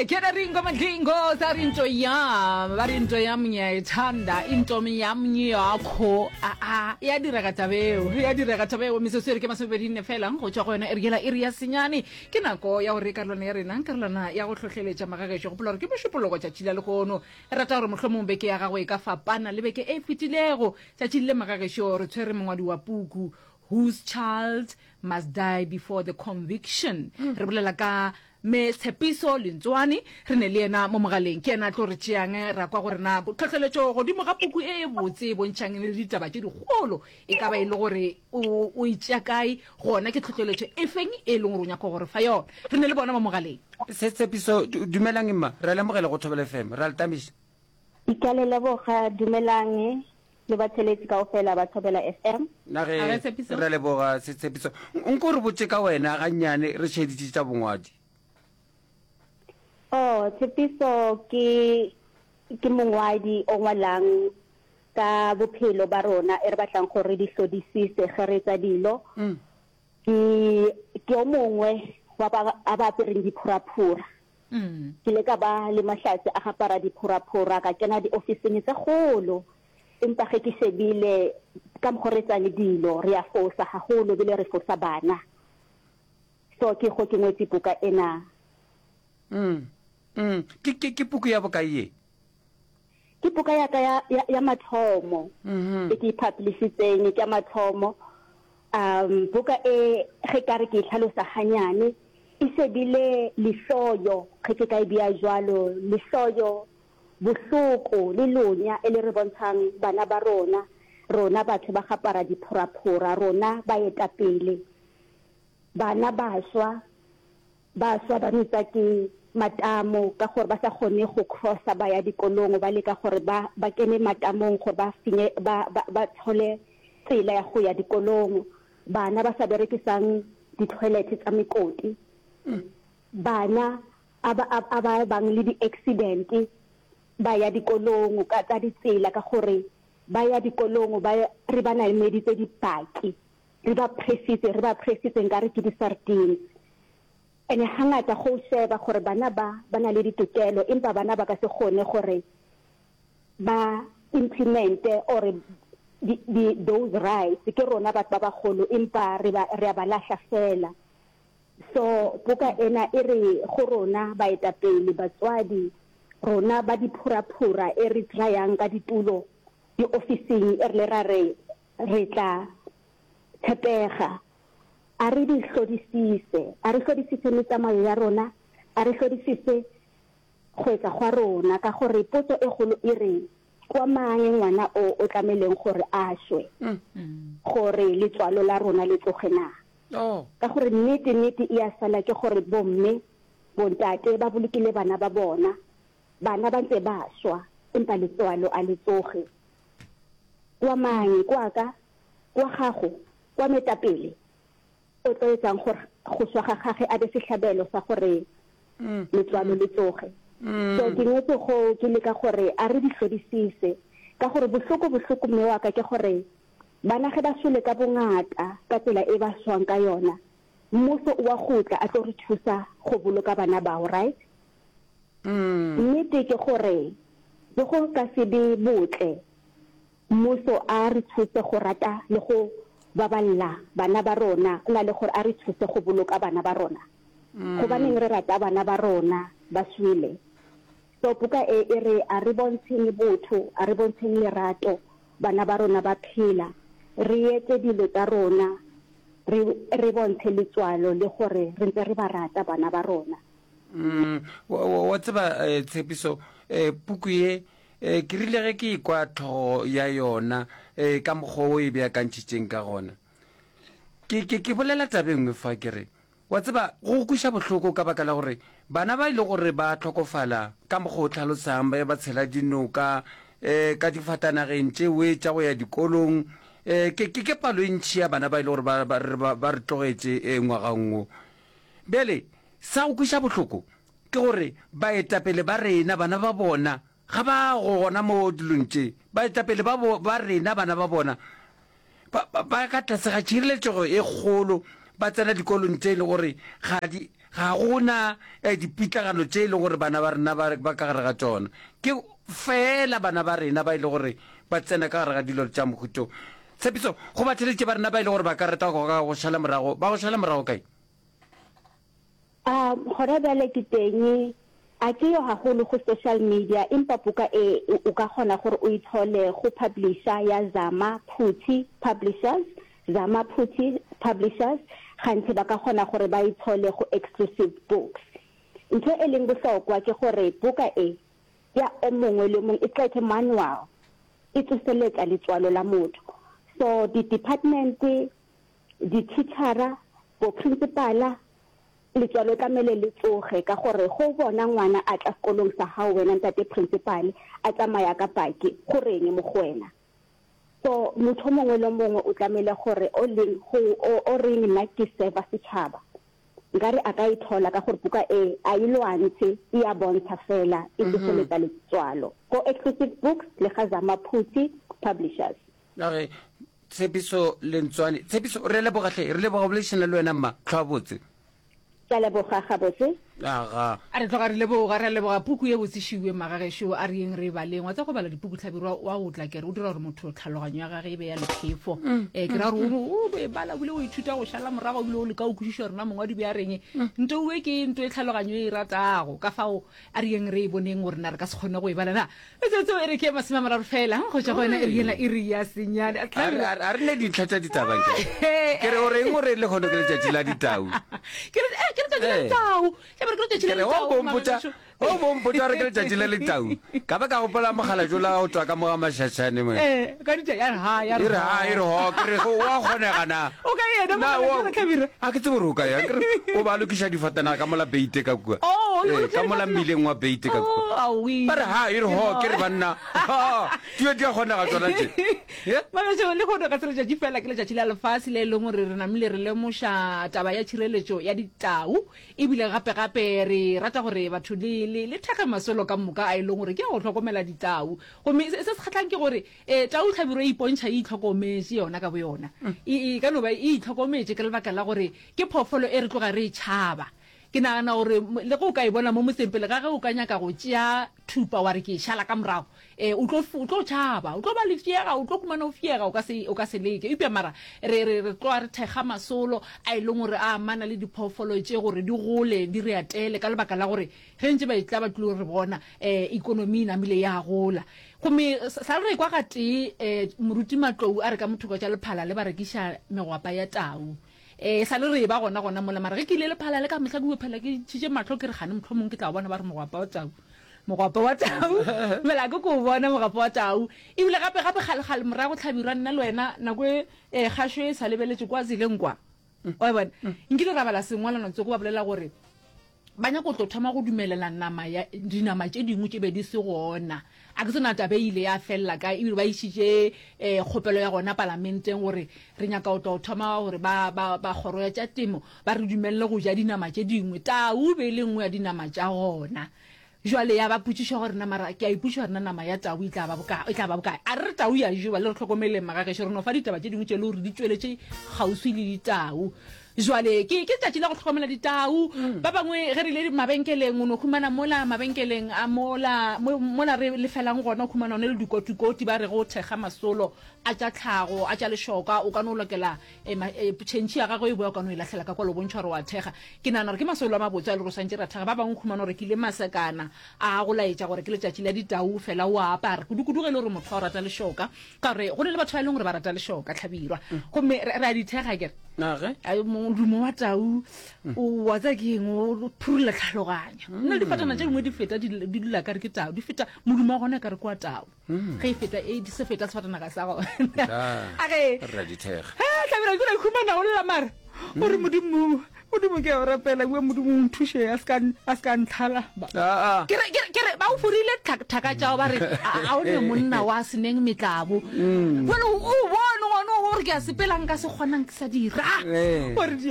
Ke na ringo madlingo sa ri nto yam ba ri nto yam ngiyayithanda into yam ngiyakho a a ya direga tabeo ya direga tabeo metsotso e re ke masomepedi nne fela go tšwa go yona e re yela iri ya senyane ke nako ya gore karolwana ya rena karolwana ya go hlohleletša magagešo gopola gore ke mošupologo tšatši la lehono re rata gore mohlomong beke ya gago e ka fapana le beke e fetilego tšatši le magagešo re tshwere mongwadi wa puku whose child must die before the conviction re bolela ka Mme Tshepiso Lentsoane, re ne le yena mo mogaleng. Ke yena a tlo re tšeang ra kwa gore na tlhohleletšo godimo ga puku e e botse e bontšhang le ditaba tše dikgolo e ka ba e le gore o, o e tšea kae, gona ke tlhohleletšo e feng e leng gore o nyaka go re fa yona. Re ne le bona mo mogaleng. Se Tshepiso, Dumelang mma, re a le amogela go Thobela FM. Re a le tamiša. Ke a le leboga. Dumelang le batheeletši kaofela ba Thobela FM. Na ge re a leboga Setshepiso. Nko re botše ka wena gannyane re šeditše tša bongwadi. Oh, Tshepiso ke ke mongwadi o ngwalang ka bophelo ba rona e re batlang gore re di hlodisise ge re etsa dilo. Ke ke o mongwe wa ba a ba apereng diphuraphura. Ke ile ka ba le mahlatse a gapara diphuraphura, ka kena diofising tse kgolo. Empa ge ke shebile ka mokgo re etsang dilo, re a fosa haholo ebile re fosa bana. So ke go ke ngwetse buka ena. Mm, mm. Ke, ke, ke puku ya bokae ye? Ke buka ya ka ya, ya, ya mathomo mm -hmm. e ke e publishitseng, ke ya mathomo. Um buka e ge ka re ke e hlalosa ganyane, e shebile lehloyo, ge ke ka e bea jwalo, lehloyo, bohloko le lonya e le re bontshang bana ba rona, rona batho ba gapara diphoraphora, rona baetapele, bana ba swa. Ba swa ba metsa ke matamo ka gore ba sa kgone go crossa ba ya dikolong, ba leka gore ba ba kene matamong gore ba finye ba ba ba thole tsela ya go ya dikolong. Bana ba sa berekisang di-toilet tsa mekoti, bana a ba a ba bang le di-accident ba ya dikolong ka tsa ditsela ka gore ba ya dikolong ba re ba nameditse dibaki. Re ba pressitse, re ba pressitse nkare ke di-sardines. Ene hangata go sheba gore bana ba ba na le ditokelo empa bana ba ka se kgone gore ba implemente or di, di, those rights. Ke rona batho ba bagolo empa re ba, re a ba lahla fela. So buka ena e re go rona baetapele, batswadi, rona ba diphuraphura e re tryang ka ditulo diofising e re le ra re Re tla tshepega. A re di hlodisise. A re hlodisise metsamayo ya rona. A re hlodisise go etsa gwa rona, ka gore potso e kgolo e re, Kwa mang ngwana o o tlameleng gore a shwe, gore letswalo la rona le tloge na? Ka gore nnete, nnete e a sala ke gore bomme, bontate ba bolokile bana ba bona, bana ba ntse ba shwa, empa letswalo a le tsoge. Kwa mang, kwa ka, kwa gago, kwa metapele, o tlo etsang gore go swa ga gage a be sehlabelo sa gore letswalo le tsoge. So ke ngwetse go ke leka gore a re di hlodisise, ka gore bohloko bohloko mme wa ka ke gore bana ge ba swele ka bongata ka tsela e ba swang ka yona, mmuso o wa gutla a tlo re thusa go boloka bana bao, right? Nnete ke gore le go ka se be botle mmuso a re thuse go rata le go baballa bana ba rona go na le gore a re thuse go boloka bana ba rona. Gobaneng re rata bana ba rona ba swele? So buka e e re a re bontsheng botho, a re bontsheng lerato bana ba rona ba phela, re etse dilo tsa rona re re bontshe letswalo le gore re ntse re ba rata bana ba rona. Mm, wa tseba eh, tshepiso eh, puku ye eh, ke rile ge ke ikwa tlhogo ya yona eh, ka mokgwa o e beakantšhitšeng ka gona ke, ke, ke bolela tabe nngwe fa ke re wa tseba go kweša bohloko ka baka la gore bana ba e le gore ba hlokofala ka mokgwa o tlhalosang ba ba tshela dinoka um ka difatanageng tšewe tša go ya dikolong um ke, ke, ke palo e ntšhi ya bana ba e le gore ba, ba, ba, ba re tlogetše um ngwageng wo bjale Sa go kweša bohloko ke gore baetapele ba rena, bana ba bona, ga ba go gona mo dilong tše. Baetapele ba, ba rena, bana ba bona, ba, ba, ba ka tlase ga tšhireletšego e kgolo, ba tsena dikolong tše e le gore ga di, Ga go na eh, dipitlagano tše e lego gore bana ba rena ba, ba ka gare ga tšona. Ke feela bana ba rena ba e le gore ba tsena ka gare ga dilo tša mohuto. Tshepiso, go batheeletši ba rena ba e le gore ba ka rata go ka go šala morago, ba go šala morago kae? A gona bjale ke teng, a ke yo haholo go social media, empa buka e o ka kgona gore o e thole go publisher ya Zama Phuthi Publishers, Zama Phuthi Publishers, gantši ba ka kgona gore ba e thole go Exclusive Books. Ntho e leng bohlokwa ke gore buka e ya o mongwe le o mongwe e qethe manual, e tsoseletša letswalo la motho. So di department Dithitšhara, boprinsipala, letswalo tlamele le tsoge ka gore go bona ngwana a tla sekolong sa gago wena ntate prinsipale a tsamaya ka paki go reng mo go wena? So motho o mongwe le o mongwe o tlamele gore o leng go o, o reng nna ke serva setšhaba nkare a ka e thola ka gore buka e a e lwantshe e a bontsha fela e tsoseletsa letswalo. Go Exclusive Books le ga Zama Phuthi Publishers. A re, Tshepiso Lentswane. Tshepiso, re a leboga hle. Re leboga go boledišana le wena mma. Hlwa botse. Ke a leboga, gabotse. Aga. A re tloga re leboga, re a leboga puku ye botse šiwe magagešo, a re yeng re e baleng. Wa tseba go bala dipuku Hlabirwa wa o tla kere o dira gore motho tlhaloganyo ya gage e be ya lephefo. Eh, ke ra gore o o e bala o bile o ithuta go šala morago o bile o leka go kwešiša gore na mongwadi be a reng. Nto e ke nto e tlhaloganyo e e ratago. Ka fao a re yeng re e boneng gore na re ka se kgone go e bala na. Metsotso e re ke 30 fela go tšwa go yona iri yela iri ya senyane. A re- a re- a re ne dintlha tša ditaba nke ke re o reng o re lehono ke letšatši la ditau Ke re eh, ke letšatši la Eh. ditau. Ke re ke letšatši la ke re o ditau. bompotša magagešo. o bompotša gore ke letšatši la letau ka ba ka gopola mogala jola o tswa ka mo ga mašašane mo Eh, ka ditša ya re ha ya e re ha e re ho ke re wa kgonega na O ka yena Na, mogala wa- jola Hlabirwa? a ke tsebe gore o ka yang ke re o ba lokiša difatanaga ka mola beite ka kua Oh, o Eh, lokiša ka mola difatanaga. mmileng wa beite ka kua Oh, aowi. ba re ha e re ho ke re banna Ha, dilo di a kgonega tsona tše Ye? Magašo, lehono ga se letšatši fela, ke letšatši la lefase le e leng gore re namile re lemoša taba ya tšhireletšo ya ditau. Ebile gape-gape re rata gore batho le, le, le thekge masolo ka moka a e leng gore ke a go hlokomela ditau. Gomme se, se se kgahlang ke gore e, tau hlabirwa e ipontšha e itlhokometše yona ka boyona. E, e ka no ba e itlhokometše ka lebaka la gore ke phoofolo e re tloga re e tšhaba. Ke nagana gore le ge o ka e bona mo motseng pele ga ge o ka nyaka go tšea thupa wa re ke e šala ka morago, e, o tlo, o tlo tšhaba, o tlo ba lefšega, o tlo humana o fiega, o ka se, o ka se leke. Eupša mara re, re, re tloga re thekga masolo a e leng gore a amana le diphoofolo tše gore di gole, di re atele ka lebaka la gore ge ntše ba etla ba tlilo re bona, e, ikonomi e namile ya gola. Gomme sa re kwa gatee, e, Moruti Matlou a re ka mothoko tša Lephala le ba rekiša megwapa ya tau. E sa le re eba gona gona mola, mara ge ke ile lephala le ka mehla ke phela ke ntšhitše mahlo ke re gane mohlomong ke tla bona ba re mogwapa wa tau. Mogwapa wa tau. Mela ke ko bona mogwapa wa tau. Ebile gape gape kgale kgale morago hlabirwa nna le wena nako e e kgašo e sa lebeletše kwa tseleng kwa. Wa e bona? Nkile ra bala sengwalwana tsoko ba bolela gore Ba nyaka go tlo thoma go dumelela nama ya dinama tše dingwe tše be di se gona. A ke tsena taba e ile ya felela kae, ebile ba išitše um kgopelo ya gona palamenteng gore re nyaka go tlo thoma gore ba, ba, ba kgoro ya tša temo ba re dumelele go ja dinama tše dingwe. Tau e be e le nngwe ya dinama tša gona. Jwale ya ba potšišo gore na mara ke a ipotšiša gore na nama ya tau e tla ba bokae, e tla ba bokae. A re re tau ya jewa, le re hlokomeleng magagešo, re no fa ditaba tše dingwe tše e le gore di tšweletše kgauswi le ditau. Jwale ke, ke letšatši la go hlokomela ditau. Ba bangwe ge re ile mabenkeleng, o no humana mola mabenkeleng a mola, mo, mola re lefelang gona, o humana one le dikotikoti ba re go thekga masolo a tša tlhago, a tša lešoka, o ka no lokela e, ma, e, tšhentšhi ya gagwe e boya o ka no e lahlela ka kwa le bontšha gore wa thekga. Ke nagana gore ke masolo a mabotse a e le gore o swantše ra thekga. Ba bangwe o humana gore ke ile masekana a go laetša gore ke letšatši la ditau, fela o a apara, kudu-kudu ge e le gore motho wa go rata lešoka. Ka gore go na le batho ba e leng gore ba rata lešoka, Hlabirwa. Gomme re, re a di thekga, akere? Age. Ai, modumo wa tau, o wa tseba ke eng, o phurulla tlhaloganyo. Nna difatana tše dingwe di feta, di, di dula ka re ke tau, di feta, modumo wa gona ka re ke wa tau. Ge e feta, e, se feta sefatanaga sa gona. Age. Re a di thekga. He, Hlabirwa, ke no ikhumana o lla mara. O re, Modimo, Modimo ke a o rapela, bua Modimo o nthuše a se ka a se ka ntlhala. Aa. Ke re ke re ke re ba o forile thaka tšao ba re a o ne monna wa seneng metlabo. Jwale o bone gone o re ke a sepela nka se kgonang ke sa dira. Ee. Gore di.